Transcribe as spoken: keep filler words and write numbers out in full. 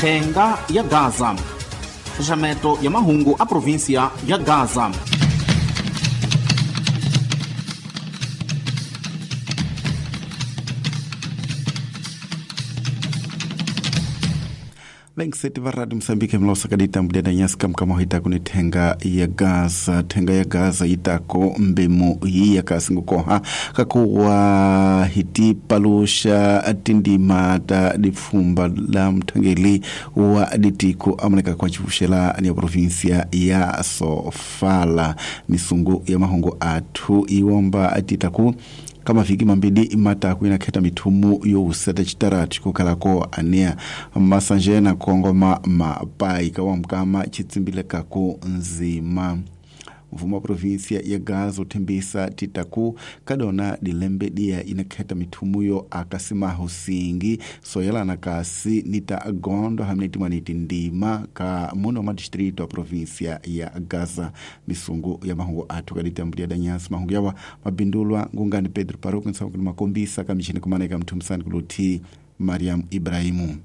Thenga ya Gaza, xaxameto ya mahungu a provinsia ya Gaza. Vengiseti va Radio Mosambike mlosakadita mudeda nyasi kamkama hitako ni thenga ya Gaza. Thenga ya Gaza yitako mbemu yiya kasingukoha kakuwa hiti palusha tindima ta dipfumba la mthangeli wa ditiko amoneka kwa chivuxela ni ya provinsia ya Sofala. Misungu ya mahungu athu iwomba atitaku kama viki mambili mataku inakheta mithumu youseta chitaratu chikukhalako anea masanjena kongoma mapai kawamkama chitsimbilekako nzima. Mfumo wa provinsia ya Gaza uthembisa titaku kadona dilembe dia inakheta mithumuyo akasimaho singi soyelana kasi nita gondo hamne timwaniti ndima ka muno ma distrito a provinsia ya Gaza. Misungu ya mahungu athu kaditambulia danyasi mahungu yawa mabindulwa ngungani Pedro Paruku nsaukuni makombisa kamichini kumaneka mthumisani kuluthi Mariam Ibrahimu.